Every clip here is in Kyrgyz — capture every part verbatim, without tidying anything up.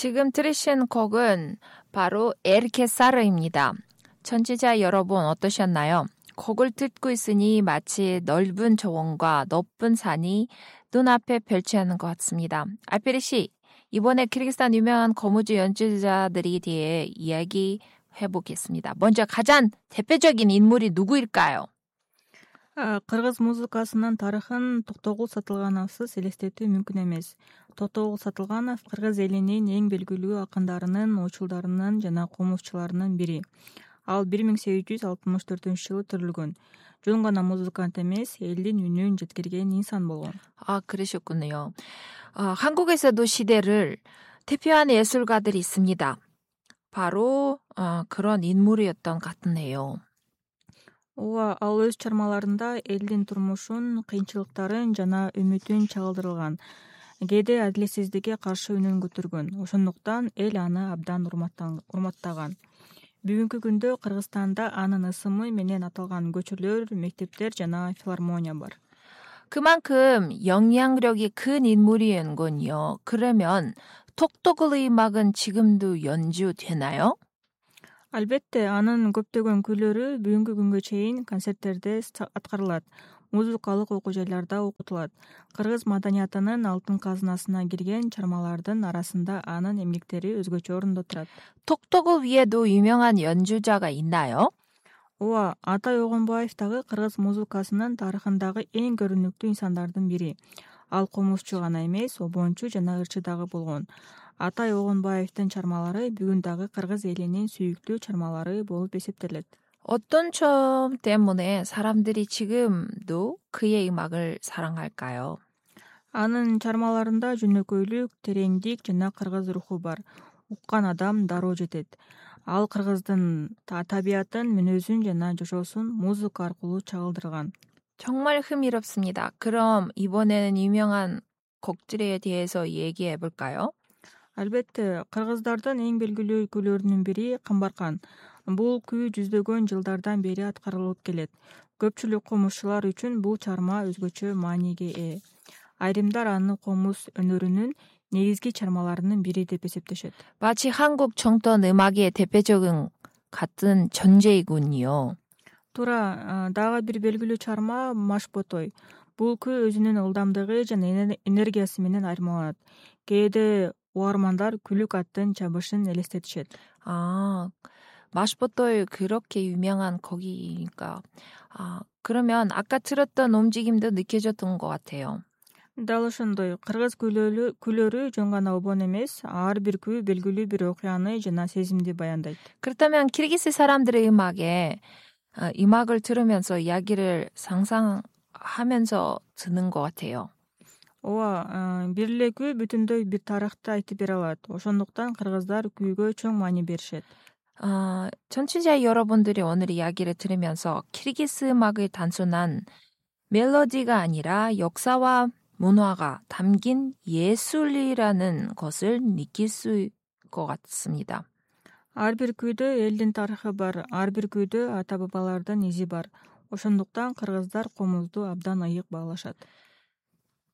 지금 들으신 곡은 바로 엘케사르입니다. 청취자 여러분 어떠셨나요? 곡을 듣고 있으니 마치 넓은 정원과 높은 산이 눈앞에 펼쳐지는 것 같습니다. 알페리 씨, 이번에 키르기스탄 유명한 거무주 연주자들에 대해 이야기해보겠습니다. 먼저 가장 대표적인 인물이 누구일까요? Кыргыз музыкасынын тарыхын Токтогул Сатылгановсуз элестетүү мүмкүн эмес. Токтогул Сатылганов кыргыз элинин эң белгилүү акындарынын, ойчулдарынын жана комузчуларынын бири. Ал бир миң сегиз жүз алтымыш төртүнчү жылы төрүлгөн. Жөн гана музыкант эмес, элдин үнүн жеткирген инсан болгон. 아, 그러셨군요. 어, 한국에서도 시대를 대표하는 예술가들이 있습니다. 바로 어, 그런 인물이었던 것 같네요. Ооба, ал өз чармаларында элдин турмушун, кыйынчылыктарын жана үмүтүн чагылдырган. Кээде адилетсиздикке каршы үнүн көтөргөн. Ошондуктан эл аны абдан урматтаган. Бүгүнкү күндө Кыргызстанда анын ысымы менен аталган көчөлөр, мектептер жана филармония бар. 그만큼 영향력이 큰 인물이었군요. 그러면 톡톡의 음악은 지금도 연주되나요? Албетте, анын көптөгөн күйлөрү бүгүнкү күнгө чейин концерттерде аткарылат, музыкалык окуу жайларда окутулат. Кыргыз маданиятынын алтын казынасына кирген чармалардын арасында анын эмгектери өзгөчө орунда турат. 톡톡을 위에도 유명한 연주자가 있나요? Ооба, Атай Огонбаев дагы кыргыз музыкасынын тарыхындагы эң көрүнүктүү инсандардын бири. Ал комузчу гана эмес, обончу жана ырчы дагы болгон. Атай Огонбаевдин чармалары бүгүн дагы кыргыз элинин сүйүктүү чармалары болуп эсептелет. 어떤 점 때문에 사람들이 지금도 그의 음악을 사랑할까요? Анын чармаларында жөнөкөйлүк, тереңдик жана кыргыз руху бар. Уккан адам дароо жетет. Ал кыргыздын табиятын, мүнөзүн жана жашоосун музыка аркылуу чагылдырган. 정말 흥미롭습니다. 그럼 이번에는 유명한 곡들에 대해서 얘기해 볼까요? Албетте, кыргыздардын эң белгилүү күйлөрүнүн бири Камбаркан. Бул күй жүздөгөн жылдардан бери аткарылып келет. Көпчүлүк комузчулар үчүн бул чарма өзгөчө мааниге ээ. Айрымдар аны комуз өнөрүнүн негизги чармаларынын бири деп эсептешет. 마치 한국 정통 음악의 대표적인 같은 존재이군요. Туура, дагы бир белгилүү чарма Машботой. Бул күй өзүнүн ылдамдыгы жана энергиясы менен айырмаланат. Кээде угармандар күлүк аттын чабышын элестетишет. 아, 마시보토의 그렇게 유명한 곡이니까. 아, 그러면 아까 들었던 움직임도 느껴졌던 것 같아요. Дал ошондой, кыргыз күйлөрү жөн гана обон эмес, ар бир күй белгилүү бир окуяны жана сезимди баяндайт. 그렇다면 키르기스 사람들의 음악에 어, 음악을 들으면서 이야기를 상상하면서 듣는 것 같아요. Ооба, бир эле күй бүтүндөй бир тарыхты айтып бере алат. Ошондуктан кыргыздар күйгө чоң маани беришет. 아, 청취자 여러분들이 오늘 이야기를 들으면서 키르기스 음악의 단순한 멜로디가 아니라 역사와 문화가 담긴 예술이라는 것을 느낄 수 있을 것 같습니다. Ар бир күйдө элдин тарыхы бар, ар бир күйдө ата бабалардын изи бар. Ошондуктан кыргыздар комузду абдан ыйык баалашат.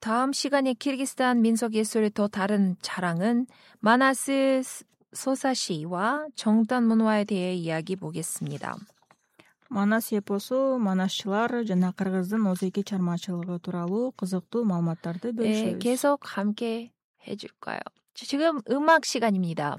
다음 시간에 키르기스탄 민속 예술의 또 다른 자랑은 마나스 소사시와 정단 문화에 대해 이야기 보겠습니다. Манас эпосу, манасчылар жана кыргыздын озеки чармачылыгы тууралуу кызыктуу маалыматтарды 네, бөлүшөбүз. 계속 함께 해줄까요? 지금 음악 시간입니다.